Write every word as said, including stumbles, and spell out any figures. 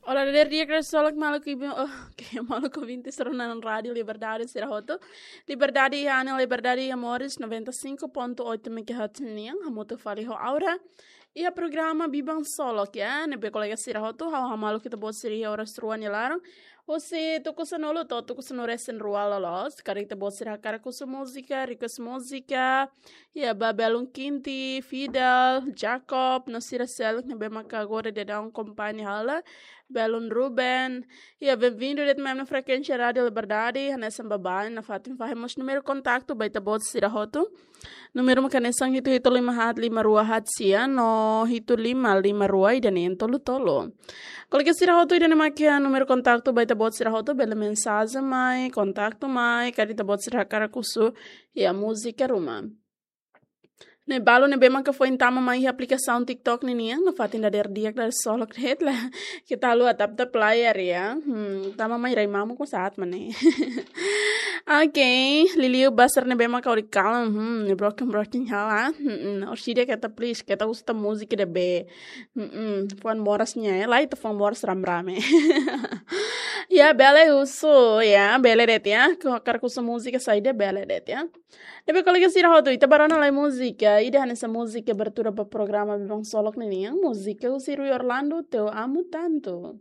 Olá, dadeer di'ak, kresol maluk ibu, oh, oke, maluk ouvinte rona Rádio Liberdade sira hotu. Liberdade iha Anel, Liberdade iha Moris, noventa e cinco ponto oito megahertz nian, hamutuk fali ho Aura. Iha programa Biban Solok, ya, ne'ebé kolega sira hotu, ha'u hamaluk ita-boot sira iha oras rua nia laran. Husi tuku sanulu to'o tuku sanulu-resin-rua loloos, karik ita-boot sira hakarak husu múzika, request múzika, ya, ba belun Kinti, Fidel, Jacob, no sira seluk ne'ebé maka agora daudaun akompaña hela, belun Ruben, ya, benvindu de'it mai iha frekuénsia Rádio Liberdade, hanesan baibain nafatin fahe mós númeru kontaktu ba ita-boot sira hotu. Númeru maka hanesan hitu hitu lima haat lima rua haat sia no hitu lima lima rua ida neen tolu tolu. Kolega sira hotu, ida-ne'e maka númeru kontaktu ba ita-boot sira hotu, bele mensajen mai, kontaktu mai, karik ita-boot sira hakarak husu, ya, múzika ruma. Ne'e balu ne'ebé maka foin tama mai iha aplikasaun TikTok ninian, nafatin dadeer di'ak, dadeer solok de'it la. Keta haluha tap-tap layar ya. Hmm, tama mai rai mamuk ko saat mana. Oke, liuliu ba sira ne'ebé maka hodi kalan, hmm, broken broken hela. Hmm, orsida keta, please, keta husu múzika ida be. Hmm, fuan moras nian, ya, la ita fuan moras ramrame. Ya, bele husu, ya, bele de'it ya. Ko hakarak husu múzika saida bele de'it ya. Ne'ebé kolega sira hotu, ita bá rona lai múzika, ida hanesan múzika abertura ba programa Biban Solok ninian, múzika husi Rui Orlando, Te Amo Tanto.